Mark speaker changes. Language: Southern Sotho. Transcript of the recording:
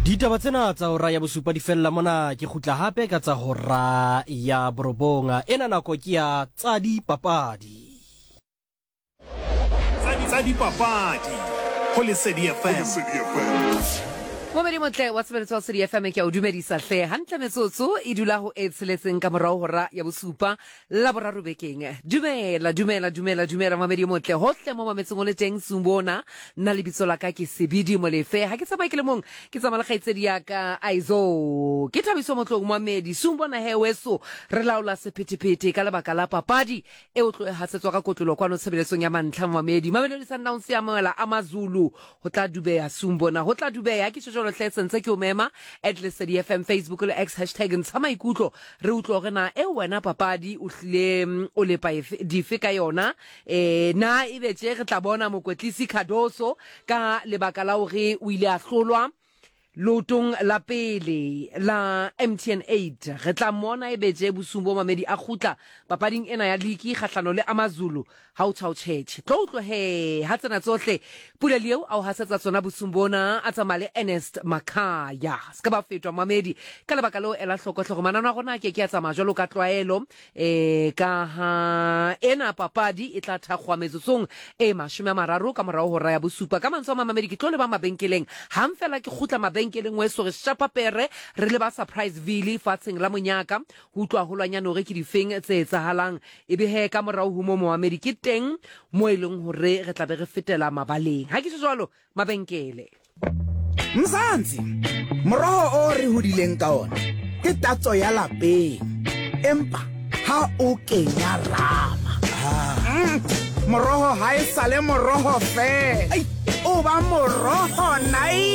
Speaker 1: Ditaba tsena tsa hora ya bosupa di fella mona, ke kgutla hape ka tsa hora ya borobong. Ena nako ke ya tsa dipapadi.
Speaker 2: Tsa dipapadi go Lesedi FM.
Speaker 3: Momedi motle wa tshebeletso wa Lesedi FM ke a o dumedisa hle hantle metsotso e dula ho e tsheletseng ka morao hora ya bosupa la boraro bekeng. Dumela, dumela, dumela, dumela mamedi o motle hohle mo mametseng o le teng Sumbona. Nna lebitso la ka ke Sebidi Molefe. Ha ke tsamaye ke le mong, ke tsamaya le kgaitsedi ya ka Aizo. Ke Thabiso Motlong Moamedi. Sumbona he weso re laola sephethephethe ka lebaka la papadi e o tlo e hasetswa ka kotlolo kwano tshebeletsong ya mantlha Moamedi. Mamelodi Sundowns ya amohela AmaZulu. Ho tla dubeha Sumbona, ho tla dubeha. Ke tjho jwalo hle sentse ke o mema at Lesedi FM Facebook le X hashtag ntsha maikutlo re utlwe hore na eo wena papadi o hlile mm, o lepa efe, dife ka yona e na ebe tje re tla bona mokwetlisi Cardoso ka lebaka la hore o ile a hlolwa leotong la pele la MTN 8 re tla mmona ebe tje bosung bo mamedi a kgutla papading ena ya liki kgahlano le AmaZulu Ha o tjha o tjhetjhe. Tlo utlwe he ha tsena tsohle Pule Leo a o hasetsa tsona bosung bona a tsamaya le Ernest Makhaya. Se ka ba fetwa mamedi. Ka lebaka leo ela hloko hle gore manano a rona a ke ke a tsamaya jwalo ka tlwaelo eh ka ha ena papadi e tla thakgoha metsotsong e 30 ka morao hora ya bosupa. Ka mantswe a mang mamedi ke tlo leba mabenkeleng. Hang fela ke kgutla mabenkeleng weso re shapa pere re leba Surpriseville fatsheng la monyaka ho utlwa haholwanyane hore ke difeng tse etsahalang. Ebe he ka morao ho moo moamedi ke teng mo e leng hore re tla be re fetela mabaleng. Ha ke tjho jwalo, mabenkele.
Speaker 4: Mzansi, moroho o re hodileng ka ona ke tatso ya lapeng, empa ha o kenya rama, moroho ha e sale moroho feela, o ba moroho nai.